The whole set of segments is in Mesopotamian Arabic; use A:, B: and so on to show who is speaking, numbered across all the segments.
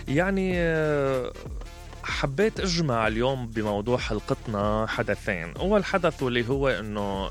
A: يعني حبيت اجمع اليوم بموضوع حلقتنا حدثين. اول حدث واللي هو انه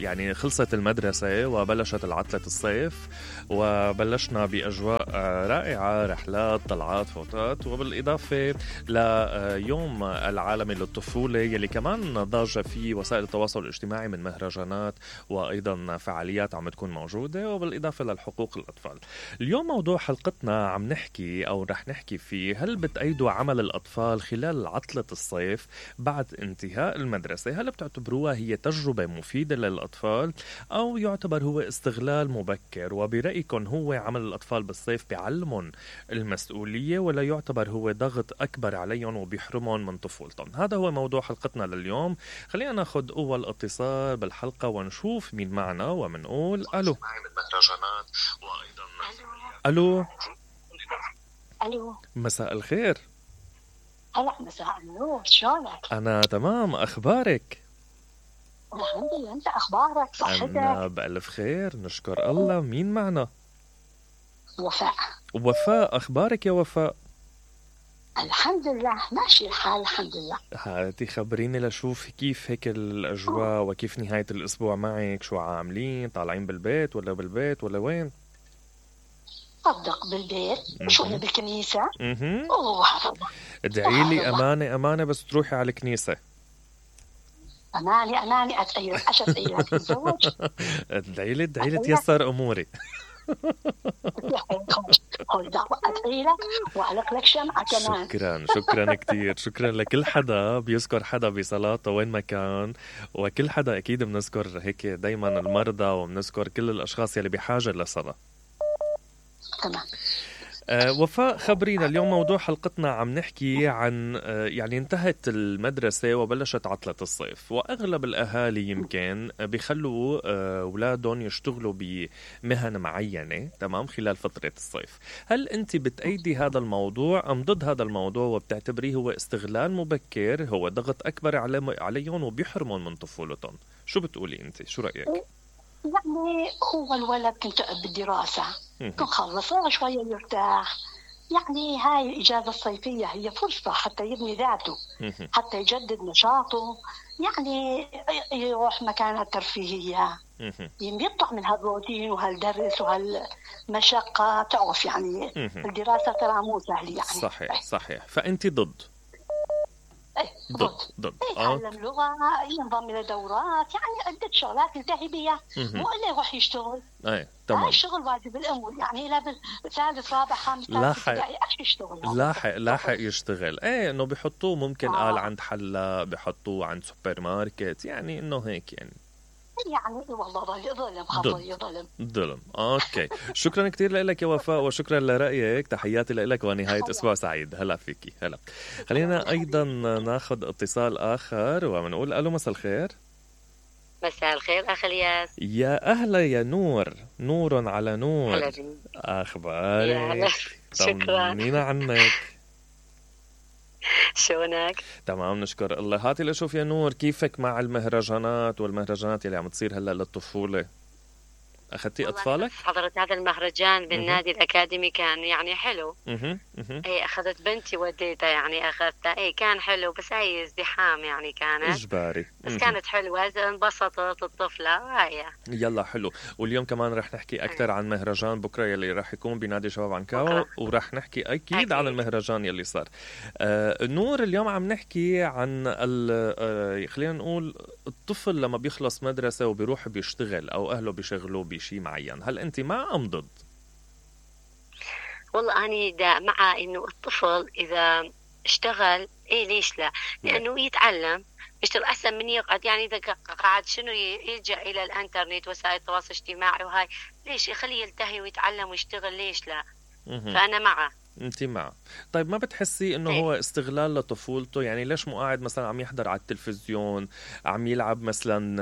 A: يعني خلصت المدرسة وبلشت العطلة الصيف، وبلشنا باجواء رائعة، رحلات، طلعات، فوتات، وبالاضافة ليوم العالمي للطفولة يلي كمان ضاج فيه وسائل التواصل الاجتماعي من مهرجانات وايضا فعاليات عم تكون موجودة، وبالاضافة للحقوق الاطفال. اليوم موضوع حلقتنا عم نحكي او رح نحكي فيه: هل بتأيدوا عمل الأطفال خلال عطلة الصيف بعد انتهاء المدرسة؟ هل بتعتبروها هي تجربة مفيدة للأطفال أو يعتبر هو استغلال مبكر؟ وبرأيكم هو عمل الأطفال بالصيف بيعلمهم المسؤولية ولا يعتبر هو ضغط أكبر عليهم وبيحرمهم من طفولتهم؟ هذا هو موضوع حلقتنا لليوم. خلينا ناخد أول اتصال بالحلقة ونشوف مين معنا ومنقول ألو. ألو.
B: ألو.
A: مساء الخير.
B: هلا مساء النور، شلونك؟
A: أنا تمام، أخبارك؟
B: الحمد لله، أنت أخبارك؟ صحتك؟
A: أنا بألف خير نشكر الله. مين معنا؟
B: وفاء.
A: وفاء، أخبارك يا وفاء؟
B: الحمد لله ماشي الحال الحمد لله.
A: هاتي خبريني لشوف كيف هيك الأجواء وكيف نهاية الأسبوع معك، شو عاملين؟ طالعين بالبيت ولا وين؟
B: صدق بالبيت، شوية بالكنيسة.
A: ادعي لي أمانة بس تروحي على الكنيسة.
B: أماني أتأيلك عشان أتأيلك تتزوج.
A: ادعي لي تيسر أموري.
B: خذ دعوة أتأيلك وأعلق لك شمعة كمان.
A: شكرا كتير. شكرا لكل حدا بيذكر حدا بصلاته وين ما كان، وكل حدا أكيد بنذكر هيك دايما المرضى وبنذكر كل الأشخاص يلي بحاجة لصلاة.
B: تمام.
A: وفاء، خبرينا اليوم موضوع حلقتنا عم نحكي عن يعني انتهت المدرسة وبلشت عطلة الصيف، وأغلب الأهالي يمكن بيخلوا أولادهم يشتغلوا بمهن معينة تمام خلال فترة الصيف. هل أنت بتأيدي هذا الموضوع أم ضد هذا الموضوع وبتعتبريه هو استغلال مبكر، هو ضغط أكبر عليهم وبيحرمهم من طفولتهم؟ شو بتقولي أنت؟ شو رأيك؟
B: يعني هو الولد كنت بالدراسة كن خلصها شوية يرتاح، يعني هاي الإجازة الصيفية هي فرصة حتى يبني ذاته، حتى يجدد نشاطه، يعني يروح مكانها الترفيهية، يطلع من هالروتين وهالدرس وهالمشقة. تعرف يعني الدراسة ترى مو سهل يعني.
A: صحيح. فأنت ضد؟ ضد.
B: يتعلم لغة، ينضم إلى دورات، يعني عدة شغلات ينتهي بها، مو إلا يروح يشتغل.
A: تمام.
B: الشغل واجب الأمور، يعني إلى بالثالث رابع خامس ابتدائي يشتغل.
A: لاحق يشتغل. إنه بيحطوه ممكن قال عند حلاق، بيحطوه عند سوبر ماركت، يعني إنه هيك يعني
B: والله ظلم.
A: اوكي. شكرا كتير لك يا وفاء وشكرا لرأيك. تحياتي لك ونهاية اسبوع سعيد. هلا فيكي. هلا. خلينا ايضا ناخذ اتصال اخر ومنقول الو. مساء الخير.
C: مساء الخير اخ الياس.
A: يا اهلا يا نور على نور. اخبارك؟
C: شكرا.
A: طمنينا عنك.
C: شلونك؟
A: تمام نشكر الله. هاتي لشوف يا نور، كيفك مع المهرجانات اللي عم تصير هلا للطفولة؟ أخذتي أطفالك؟
C: حضرت هذا المهرجان بالنادي الأكاديمي، كان يعني حلو. اي أخذت بنتي وديتها، يعني أخذتها. اي كان حلو، بس هي ازدحام يعني كانت
A: إجباري.
C: بس كانت حلوة، انبسطت الطفلة هاي.
A: يلا حلو. واليوم كمان رح نحكي أكثر عن مهرجان بكرة يلي رح يكون بنادي شباب عنكاو، ورح نحكي أكيد عن المهرجان يلي صار. نور، اليوم عم نحكي عن خلينا نقول الطفل لما بيخلص مدرسة وبيروح بيشتغل أو أهله بيشغلوه بشيء معين، هل أنت مع أم ضد؟
C: والله أنا مع إنه الطفل إذا اشتغل ليش لا؟ لأنه يتعلم، يشتغل أحسن من يقعد. يعني إذا قاعد شنو يلجأ إلى الإنترنت وسائل التواصل الاجتماعي وهاي، ليش يخليه يلتهي ويتعلم ويشتغل؟ ليش لا؟ فأنا معه.
A: انت معه. طيب ما بتحسي انه هو استغلال لطفولته؟ يعني ليش مو قاعد مثلا عم يحضر على التلفزيون، عم يلعب مثلا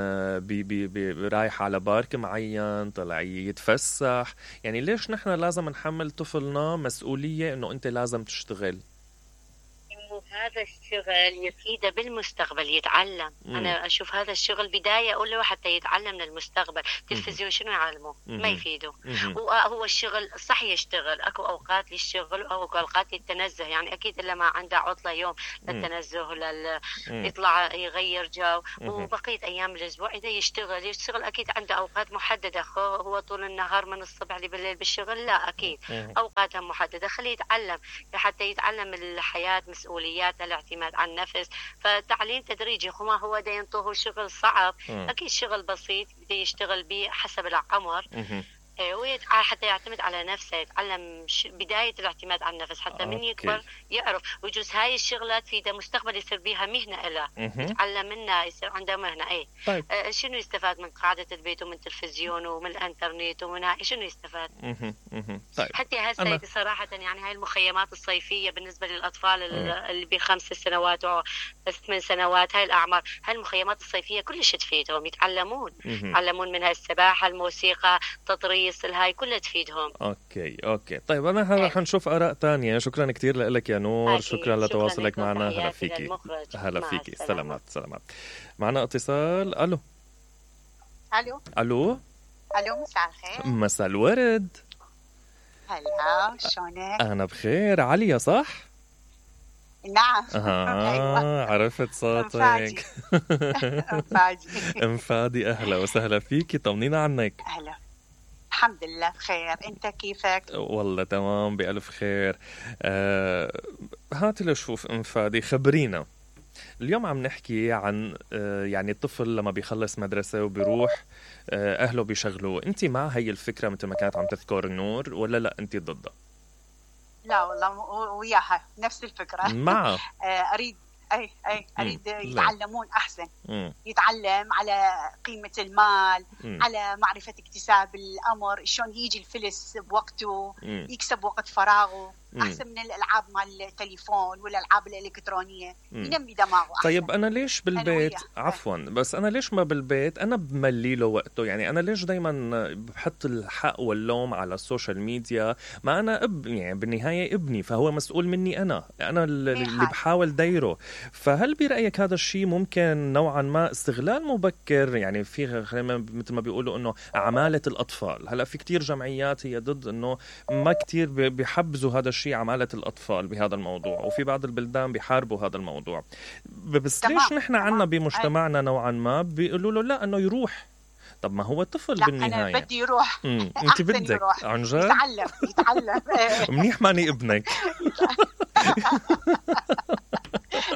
A: رايح على بارك معين، طلع يتفسح؟ يعني ليش نحن لازم نحمل طفلنا مسؤولية انه انت لازم تشتغل؟
C: هذا الشغل يفيده بالمستقبل يتعلم. أنا أشوف هذا الشغل بداية أولى حتى يتعلم للمستقبل. تلفزيون شنو يعلمه؟ ما يفيده. هو الشغل صح يشتغل، أكو أوقات للشغل وأكو أوقات للتنزه، يعني أكيد إلا ما عنده عطلة يوم للتنزه يطلع يغير جو، وبقية أيام الأسبوع إذا يشتغل أكيد عنده أوقات محددة. هو طول النهار من الصبح لبالليل بالشغل؟ لا، أكيد أوقاتها محددة. خليه يتعلم حتى يتعلم الحياة، مسؤوليات، الاعتماد على النفس. فتعليم تدريجي. ما هو دا ينطوه شغل صعب، أكيد شغل بسيط بده يشتغل به حسب العمر، حتى يعتمد على نفسه، يتعلم بداية الاعتماد على النفس حتى من يكبر يعرف. ويجوز هاي الشغلات في ده مستقبل يصير بيها مهنة له، يتعلم منها يصير عنده مهنة.
A: طيب.
C: شنو يستفاد من قاعدة البيت ومن التلفزيون ومن الانترنت ومن هاي؟ شنو يستفاد؟
A: طيب.
C: حتى هسه صراحة يعني هاي المخيمات الصيفية بالنسبة للأطفال اللي ب5 سنوات و8 سنوات، هاي الأعمار، هاي المخيمات الصيفية كلش تفيدهم، يتعلمون منها السباحة، الموسيقى، تطريز، هاي كلها تفيدهم.
A: اوكي. طيب انا رح نشوف اراء تانية. شكرا كتير لك يا نور. شكرا لتواصلك معنا. هلا فيكي. سلامات. معنا اتصال. الو.
D: مساء الخير.
A: مساء الورد.
D: هلا، شلونك؟
A: انا بخير. عليا صح؟
D: نعم.
A: أيوة. عرفت صوتك. انفادي. اهلا وسهلا فيكي. طمنينا عنك.
D: اهلا. الحمد لله بخير. انت كيفك؟
A: والله تمام بألف خير. هاتي لشوف انفادي، خبرينا اليوم. عم نحكي عن يعني الطفل لما بيخلص مدرسة وبيروح أهله بيشغلوه. أنت مع هاي الفكرة مثل ما كانت عم تذكر نور، ولا لا أنت ضدها؟
D: لا والله وياها نفس الفكرة.
A: مع
D: أريد يتعلمون أحسن. يتعلم على قيمة المال، على معرفة اكتساب الأمر، شلون يجي الفلس بوقته، يكسب وقت فراغه، أحسن من الألعاب مال التليفون والألعاب الإلكترونية. ينمي دماغه أحسن.
A: طيب أنا ليش بالبيت عفوا بس أنا ليش ما بالبيت أنا بملي له وقته؟ يعني أنا ليش دايما بحط الحق واللوم على السوشيال ميديا؟ ما أنا يعني بالنهاية ابني، فهو مسؤول مني. أنا اللي بحاول دايره. فهل برأيك هذا الشيء ممكن نوعا ما استغلال مبكر؟ يعني في مثل ما بيقولوا إنه عمالة الأطفال. هلا في كتير جمعيات هي ضد إنه ما كتير بيحبزوا هذا الشيء، عمالة الأطفال بهذا الموضوع، وفي بعض البلدان بيحاربوا هذا الموضوع. بس ليش نحن عنا بمجتمعنا نوعا ما بيقولوا له لا إنه يروح؟ طب ما هو طفل بالنهاية.
D: أنا بدي يروح.
A: أنت بدك عن جد
D: يتعلم.
A: منيح ماني ابنك.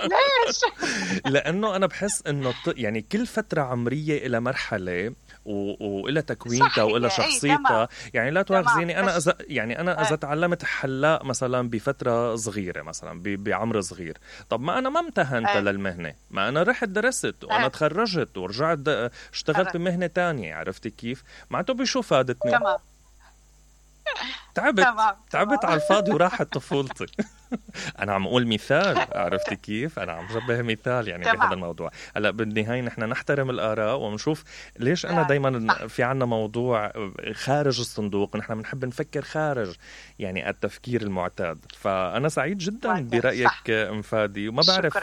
D: ليش؟
A: لأنه أنا بحس إنه يعني كل فترة عمرية إلى مرحلة وإلى تكوينتها وإلى شخصيتها. يعني لا تواخذيني أنا إذا تعلمت حلاق مثلا بفترة صغيرة، مثلا بعمر صغير، طب ما أنا ما امتهنت للمهنة، ما أنا رحت درست وأنا تخرجت ورجعت اشتغلت بمهنة تانية. عرفتي كيف؟ معناته بشو فادتني؟ تعبت على الفاضي وراحت طفولتي. أنا عم أقول مثال. عرفتي كيف؟ أنا عم جبه مثال يعني بهذا الموضوع. هلا بالنهاية نحن نحترم الآراء ونشوف ليش أنا دايما في عنا موضوع خارج الصندوق. نحن بنحب نفكر خارج يعني التفكير المعتاد. فأنا سعيد جدا برأيك انفادي، وما بعرف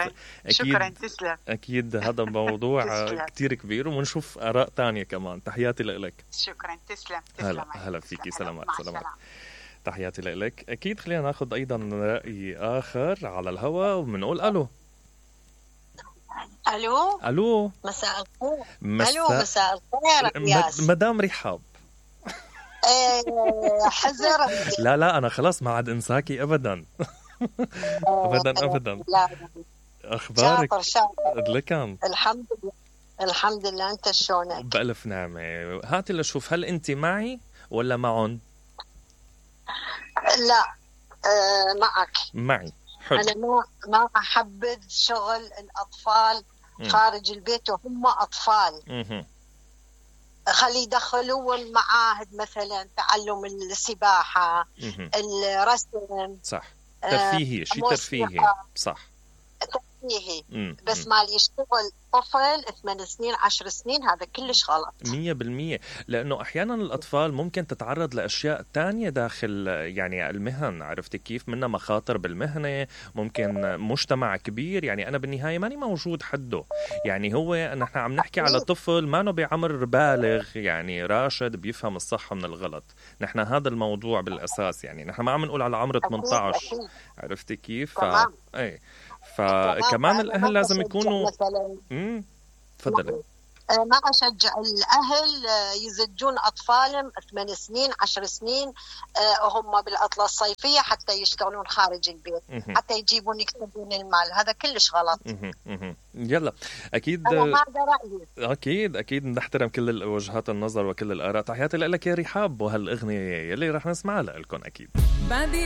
D: شكرا. تسلم.
A: أكيد هذا موضوع كتير كبير، ونشوف آراء تانية كمان. تحياتي لك.
D: شكرا. تسلم.
A: هلا فيكي. سلامات. تحياتي لك. أكيد خلينا ناخذ أيضا رأي آخر على الهواء وبنقول ألو.
E: مساء الخير. مساء الخير
A: مدام رحاب.
E: حذر.
A: لا أنا خلاص ما عاد انساكي أبدا. أبدا. أخبارك؟
E: شاطر. الحمد لله. أنت شلونك؟
A: بألف نعمة. هاتي لشوف، هل أنت معي ولا معن؟
E: لا
A: معي. حلو.
E: أنا ما أحبذ شغل الأطفال خارج البيت وهم أطفال. خلي يدخلوهم معاهد مثلا، تعلم السباحة، الرسم.
A: صح. ترفيهي، شيء ترفيهي. صح.
E: فيه بس مال يشتغل طفل 8 سنين 10 سنين هذا كلش غلط
A: 100%. لأنه أحيانا الأطفال ممكن تتعرض لأشياء تانية داخل يعني المهن، عرفتي كيف؟ منها مخاطر بالمهنة، ممكن مجتمع كبير. يعني أنا بالنهاية ماني موجود حده، يعني هو نحن عم نحكي على طفل ما نو بعمر بالغ، يعني راشد بيفهم الصح من الغلط. نحن هذا الموضوع بالأساس، يعني نحن ما عم نقول على عمر 18. عرفتي كيف؟ اي فكمان الأهل لازم يكونوا تفضلي.
E: ما أشجع الأهل يزجون أطفالهم 8 سنين 10 سنين هم بالعطلة الصيفية حتى يشتغلون خارج البيت، حتى يجيبون يكسبون المال. هذا كلش غلط.
A: يلا أكيد أكيد نحترم كل وجهات النظر وكل الآراء. تحياتي لك يا رحاب، وهالأغنية يلي رح نسمعها لكم أكيد.